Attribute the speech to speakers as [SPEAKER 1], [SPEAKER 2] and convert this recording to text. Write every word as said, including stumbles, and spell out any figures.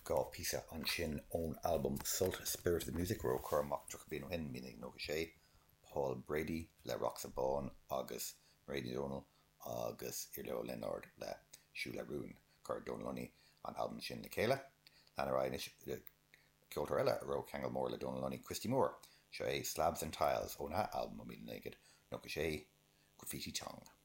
[SPEAKER 1] Dhá phíosa ansin ón albam Sult Spirit of the Music a raibh curtha amach tríocha bliain ó shin, míle naoi nócha sé, Paul Brady le Rock sa Bhán agus Mairéad Ní Dhomhnaill agus Iarla Ó Lionáird le Siúl le Rún. Chuir Dónal Lunny an albam sin le chéile. Lean ar aghaidh anois le ceoltóir eile a raibh ceangal mór le Dónal Lunny, Christy Moore. Seo é Slabs and Tiles óna albam ó míle naoi gcéad nócha sé, Graffiti Tongue.